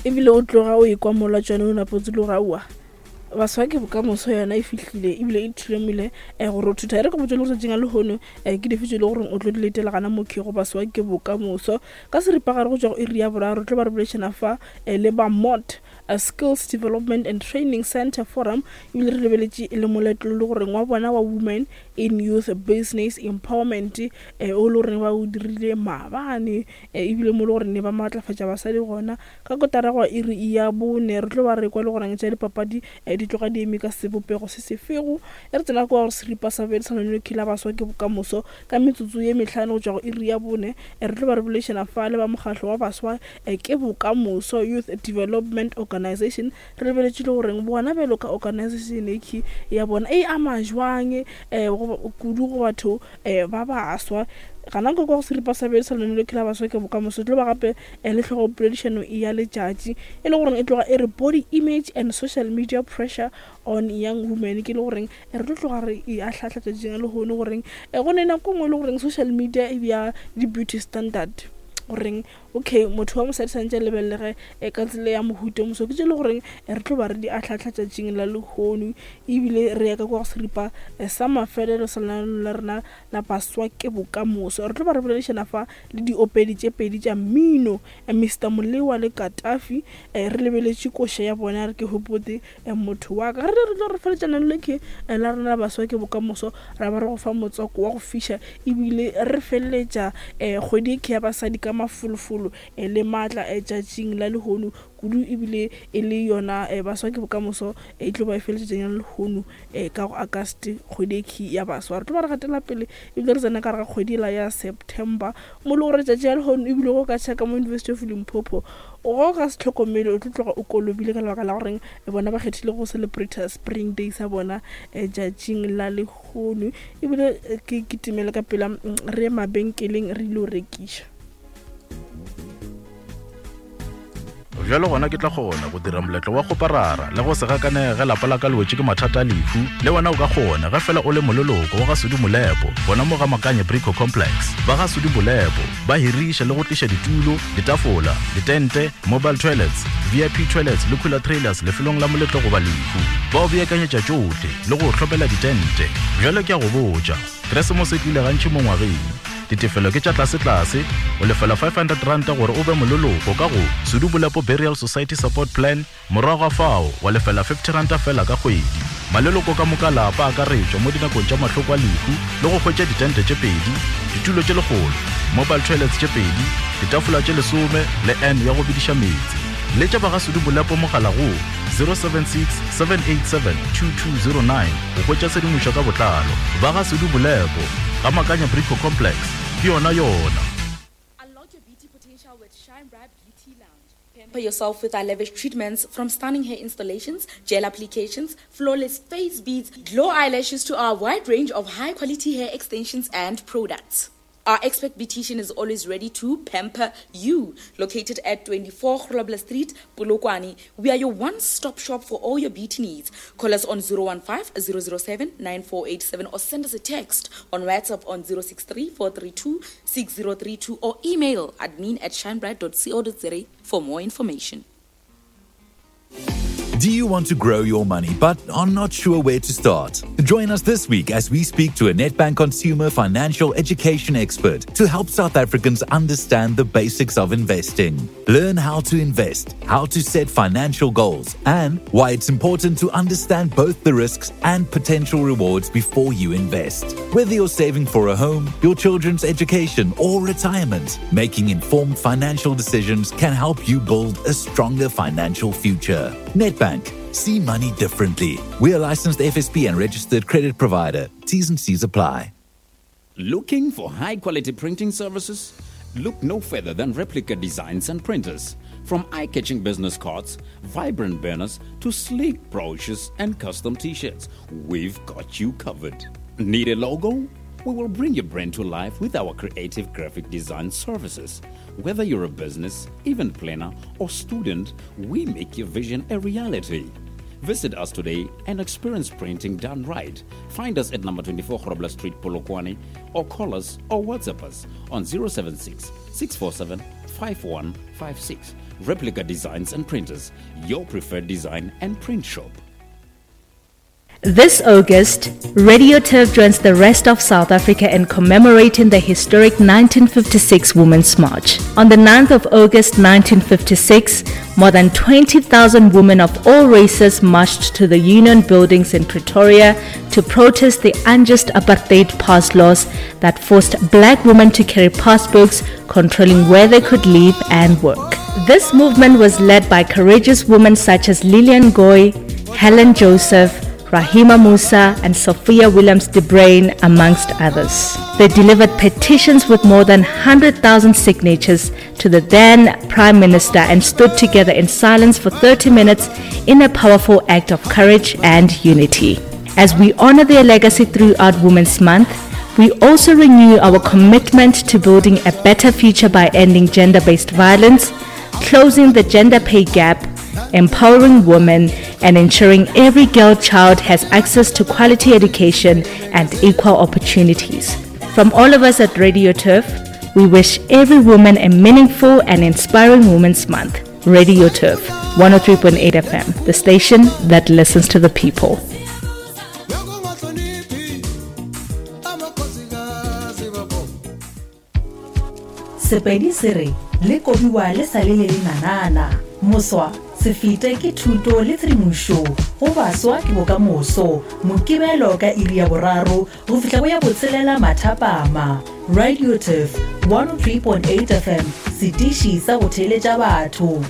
Ebile o tloga o ekwa mola tšone o napotse le gore aowa baswa ke bokamoso yona e fihlile ebile e thulomile um gore o thutha e re ke botse le gore tšatšing a lehono um ke dife tse e le goreng o tlo di letela gana mokhi go baswa ke bokamoso ka seripagare go tšwa go iri ya boraro tlo ba re bolešana fa um le ba mot a Skills Development and Training Center Forum ebile re lebeletše le moletlo le goreng wa bona wa Women in Youth Business Empowerment eh, o le goreng ba o dirile maabane eh, ebile mo le gore ne ba maatlafatša basadi gona ka kotara go iri ya bone re tlo ba re kwa le goreng tša dipapadi eh, di tloga di eme ka sebopego se sefego e re tsena kwa gore seripa sa bele sa lone la baswa ke bokamoso ka metsotso ye mehlano go tšwa go iri ya bone re tlo ba re boledišana fa le ba mokgahlo wa baswa ke Bokamoso Youth Development Organisation. Re lebeletše le goreng bona bjalo ka organisation e ya bona e ama jwang um kudu go batho um ba baswa. Gana kwa go seripa sa bele sa lenaneo la baswa ke Bokamoso tlo ba gape le hlogo poledišano ya letšatši e le goreng e tloga e re body image and social media pressure on young women, ke le goreng re tlo tloga re e ahlahla tšatšing la lehono goreng go ne nako nngwe e le goreng social media e bja di-beauty standard goreng okay motho wa mosadi santse a lebelelege e ka tsela ya mohuta moso ke tse le goreng re tlo ba re di ahlahla tšatšing la lehono ebile re ya ka kwa go seripa sa mafelelo sa lenaneo la rena la baswa ke bokamoso re tlo ba re boledišana fa le diopedi tše pedi tša mmino Mr Molewa le Katafi re lebeletše koša ya bona re ke hopote motho wa ka. Re re tlo re feletša lenaneo le ke la rena la baswa ke bokamoso, ra ba re go fa motswako wa go fiša ebile re feleletša kgwedi e ke ya basadi ka mafolofolo le maatla tšatšing la lehono kudu ebile e le yona baswa ke bokamoso e tlo ba e feletša tšatšing la lehono ka go August kgwedi e ke ya baswa. Re tlo ba re gatela pele ebile re tsena ka gare ga kgwedi la ya September mo le gore tšatši la lehono ebile go ka tšhaka mo University of Limpopo Go ka se hlokomele o tlo tloga o kolobile ka lebaka la goreng bona ba kgethile go celebrata spring day sa bona tšatšing la lehono ebile ke kitimele ka pela re ye mabenkeleng re ile go rekiša. Bjalo gona ke tla kgona go dira moletlo wa kgoparara le go se gakanege ge lapa la ka le wetše ke mathata a lehu. Le wena o ka kgona ge fela o le moleloko wa ga Sudi Molepo gona mo ga Makanye Brico Complex. Ba ga Sudi Molepo ba hiriša le go tliša ditulo, ditafola, ditente, mobile toilets, VIP toilets le cooler trailers lefelong la moletlo goba lehu. Ba o beakanyetša tšohle le go o hlomela ditente. Bjale ke a go botša, Keresemose e tlile gantši mo ngwageng. Ditefelo ke tša tlasetlase, o lefela R500 gore o be moleloko ka go Sudu Bolepo Burial Society Support Plan, Morago ga fao, wa lefela R50 feela ka kgwedi. Maleloko ka moka a lapa a akaretšwa mo dinakong tša mahloko a lehu le go hwetša ditente tše pedi, ditulo tše lekgolo, mobile toilets tše pedi, ditafola tše lesome le urn ya go bediša meetse. Letša ba ga Sudu Bolepo mogala go 076 787 2209 go hwetša tshedimošo ka botlalo. Ba ga Sudu Bolepo, ga Makanya Brico Complex, ke yona yona. Unlock your beauty potential with Shine Bright Beauty Lounge. Pamper yourself with our lavish treatments from stunning hair installations, gel applications, flawless face beads, glow eyelashes to our wide range of high quality hair extensions and products. Our expert beautician is always ready to pamper you. Located at 24 Grobler Street, Polokwane, we are your one-stop shop for all your beauty needs. Call us on 015 007 9487 or send us a text on WhatsApp on 063 432 6032 or email admin at shinebright.co.za for more information. Do you want to grow your money but are not sure where to start? Join us this week as we speak to a Nedbank consumer financial education expert to help South Africans understand the basics of investing. Learn how to invest, how to set financial goals, and why it's important to understand both the risks and potential rewards before you invest. Whether you're saving for a home, your children's education, or retirement, making informed financial decisions can help you build a stronger financial future. Nedbank. See money differently. We are licensed FSP and registered credit provider. T's and C's apply. Looking for high quality printing services? Look no further than Replica Designs and Printers. From eye catching business cards, vibrant banners, to sleek brochures and custom t shirts, we've got you covered. Need a logo? We will bring your brand to life with our creative graphic design services. Whether you're a business, event planner, or student, we make your vision a reality. Visit us today and experience printing done right. Find us at number 24 Grobler Street, Polokwane, or call us or WhatsApp us on 076 647 5156. Replica Designs and Printers, your preferred design and print shop. This August, Radio Turf joins the rest of South Africa in commemorating the historic 1956 Women's March. On the 9th of August 1956, more than 20,000 women of all races marched to the Union buildings in Pretoria to protest the unjust apartheid pass laws that forced black women to carry passbooks controlling where they could live and work. This movement was led by courageous women such as Lillian Goy, Helen Joseph, Rahima Moosa, and Sophia Williams de Bruyn, amongst others. They delivered petitions with more than 100,000 signatures to the then Prime Minister and stood together in silence for 30 minutes in a powerful act of courage and unity. As we honor their legacy throughout Women's Month, we also renew our commitment to building a better future by ending gender based violence, closing the gender pay gap, empowering women, and ensuring every girl child has access to quality education and equal opportunities. From all of us at Radio Turf, we wish every woman a meaningful and inspiring Women's Month. Radio Turf, 103.8 FM, the station that listens to the people. Sepedi se re, Le kobiwa le sa le le lenanana. Moswa, se fete ke thuto le tshedimošo. Go baswa ke bokamoso. Mokibelo ka iri ya boraro go fihla go ya botshelela mathapama. Radio Turf, 103.8 FM, setiši sa go theeletša batho.